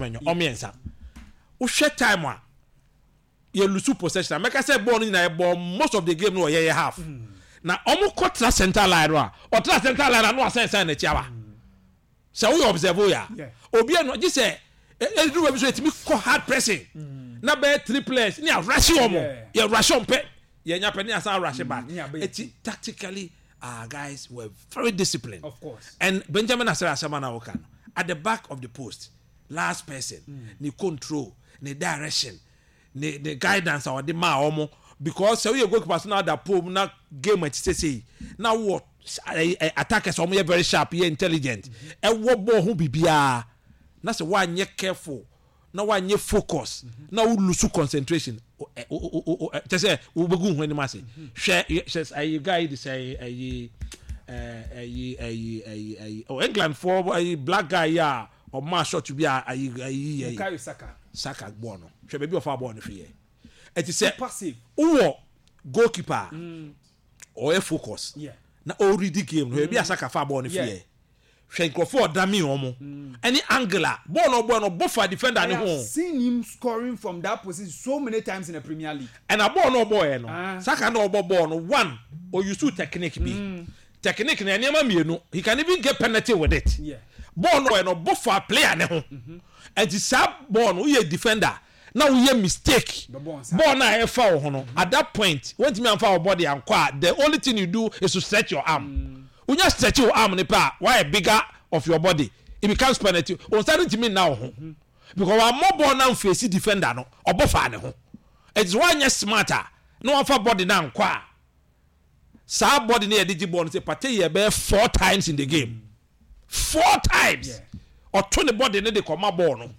Semenyo, ɔmo mmiɛnsa. Wohwɛ time a yɛ lose possession a, mɛka sɛ bɔɔl no nyinaa yɛbɔ most of the game no wɔ yɛyɛ half. Na ɔmo kɔ tra center line no a, ɔtra center line a na wasan san n'akyi aba. Sɛ woyɛ observe yɛ a, obi ɛno gye sɛ ɛduru baabi so yɛtumi kɔ hard pressing na bɛyɛ three players ne arahye wɔn, yɛ rush wɔn pɛ, yɛnya pɛ ne asan rush back. Eti tactically our guys were very disciplined. Of course. And Benjamin Asare asɛm a na woka no, at the back of the post, last person, ne control, ne direction, ne guidance a ɔde maa wɔn, because sɛ woyɛ goalkeeper so na ada pole mu na game akyi sese na wɔ attackers a wɔn yɛ very sharp, yɛ intelligent, ɛwɔ ball ho biribiara, na sɛ woanyɛ careful na woanyɛ focus na wo lose concentration, kyɛ sɛ wobɛgu ho anim ase. Hwɛ, hwɛ ayi guy yi de sɛ ayi ɛyi ɛyi ɛyi ɛyi oh, England fo ayi, black guy yi a ɔmaa shot bi a ayi ayi yɛ Bukayo Saka. Saka bɔɔl no, hwɛ baabi a ɔfa bɔɔl no fi yɛ. Ɛti sɛ Super save. Wowɔ goalkeeper a ɔyɛ focus na ɔredi game no, hwɛ baabi a Saka fa bɔɔl no fi yɛ. Hwɛ nkurɔfoɔ a ɔdame wɔn ɛne angle a bɔɔl no ɔbɔɔ no, ɔbɔ fa defender I ne have ho. seen him scoring from that position so many times in the Premier League. Ɛna bɔɔl no ɔbɔɔɛ no, Saka na ɔbɔ bɔɔl no one, ɔuse technique bi. Technique no, nneɛma mmienu, he can even get penalty with it. Bɔɔl no ɔyɛ no, ɔbɔ fa player ne ho. Ɛnti saa bɔɔl no, woyɛ defender na woyɛ mistake, Bɛbɔ nsa. Bɔɔl no a ɛfa wo ho no, at that point wɔntumi amfa wo body ankɔ a, the only thing you do is to stretch your arm. Wonya stretch wo arm no pɛ a, wayɛ bigger of your body, it becomes penalty. Wo nsa no ntumi nna wo ho because wammɔ bɔɔl no amface defender no, ɔbɔ faa ne ho. Ɛnti sɛ woanyɛ smart a na wamfa body no ankɔ a, saa body no yɛde gye bɔɔl no sɛ Partey yɛ bɛyɛ four times in the game, four times ɔto ne body no de kɔma bɔɔl no.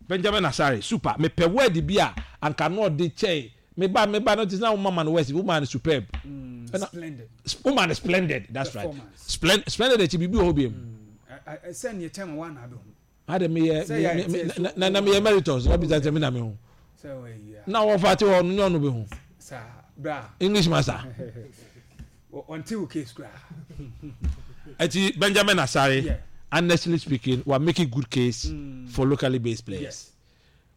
Benjamin Asare, super. Mepɛ word bi a anka na ɔde kyɛe meba no te sɛ na woma ma no words, woma no superb. Ɛna Splendid. Woma no splendid, that's right. Performance. Splendid akyi biribi wɔ hɔ biom? Sɛ neɛ kyɛn ma woana abɛhu. Ade meyɛ Sɛ yɛ ɛte so- na meyɛ emeritus na bisa sɛ me na mehu Sɛ wɔayi a. Na wɔfa te hɔ no, nyɛ ɔno bɛhu. Saa bra. English master. Ɔnte wo case koraa. Eti Benjamin Asare, honestly speaking, wa make a good case for locally based players.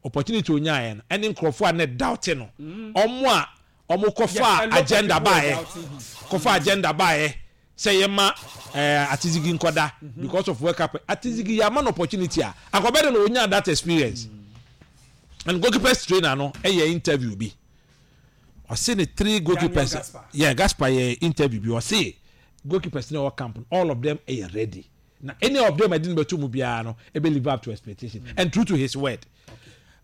Opportunity onyaeɛ no, ɛne nkurɔfoɔ a ne doubt no, ɔmo a ɔmo kɔfa Yes, a lot of agenda people were baeɛ, doubting him. Kɔfa agenda baeɛ sɛ yɛma Atizigi nkɔda because of World Cup. Atizigi, yɛama no opportunity a akɔbɛ de no onya that experience. And goalkeepers trainer no ɛyɛ interview bi, ɔse ne three goalkeepers Gaspar. Yeah, Gaspar yɛ interview bi, ɔse goalkeepers ne ɔwɔ camp no, all of them ɛyɛ ready, na any of them ɛde no bɛto mu biara no ɛbɛ live up to expectation. And true to his word,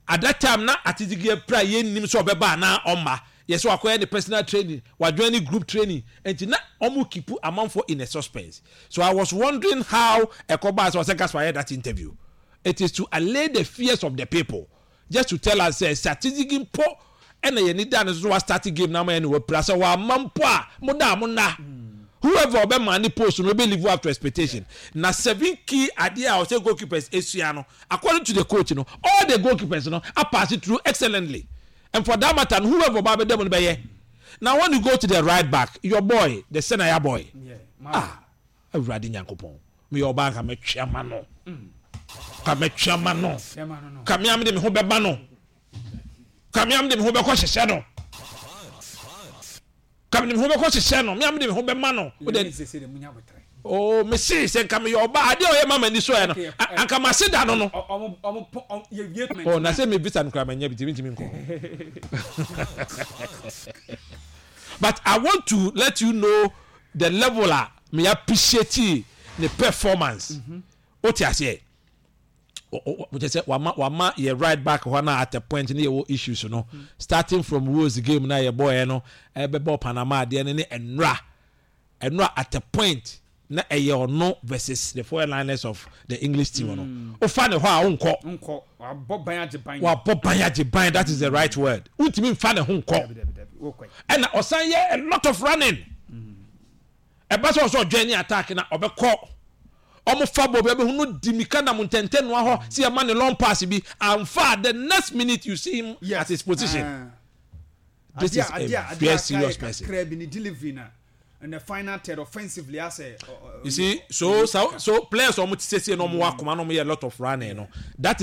at that time na Atizigi apira, yɛnnim sɛ ɔbɛba anaa ɔmma. Yɛsɛ wakɔyɛ ne personal training, wajoin ne group training, nti na ɔmo keep amanfoɔ in a suspense. So I was wondering how ɛkɔbaa sɛ ɔsɛ Gaspar yɛ that interview. It is to allay the fears of the people, just to tell us sɛ Atizigi mpo ɛna yɛn da no so wa start game na ama yɛn ne wapira, sɛ wama mpo a, mo da a mo nna, whoever ɔbɛma ne post no ɔbɛ live up to expectation. Na seven key adeɛ a ɔsɛ goalkeepers esua no, according to the coach no, all the goalkeepers no apass it through excellently. And for that matter no, whoever ɔba abɛda mu no bɛyɛ. Now when you go to the right back, your boy, the Senaya boy, ah, Awurade Nyankopɔn, meyɛ ɔbaa nka mɛtwe ama no, ka mɛtwe ama no, ka mea mede me ho bɛba no, ka mea mede me ho bɛkɔ hyehyɛ no, ka mede me ho bɛkɔ hyehyɛ no, mea mede me ho bɛma no. Wode oh, mese sɛ nka meyɛ ɔbaa, adeɛ a ɔyɛ ma m'ani so ɛ no, anka mase da no. Oh, na sɛ me visa no koraa manya bi, nti mentumi nkɔ. But I want to let you know the level a me appreciate ne performance. Wote aseɛ? Kyɛ sɛ wama yɛ right back hɔ na at a point ne yɛwɔ issues no, starting from Wales game na yɛbɔɔɛ no, ɛbɛbɔ Panama adeɛ no ne ɛnora, at a point na ɛyɛ ɔno versus the four liners of the English team no. Wofa ne hɔ a, wonkɔ. Nkɔ wabɔ ban agye ban. Wabɔ ban agye ban, that is the right word. Wontumi nfa ne ho nkɔ. Dabi, dabi, dabi, wokɔ. Ɛna ɔsan yɛ a lot of running. Ɛba sɛ ɔsɛ ɔdwɛn ne attack na ɔbɛkɔ, ɔmo fa bɔ bi ɔbɛhu no di mika nam ntɛntɛnoa hɔ si ɛma ne long pass bi amfa, the next minute you see him at his position. This is a very serious person. Kakra bi ne delivery na in the final third offensively asɛ. You see, so players ɔmo ti sɛsie na ɔmo wɔ akoma na ɔmo yɛ a lot of running no, that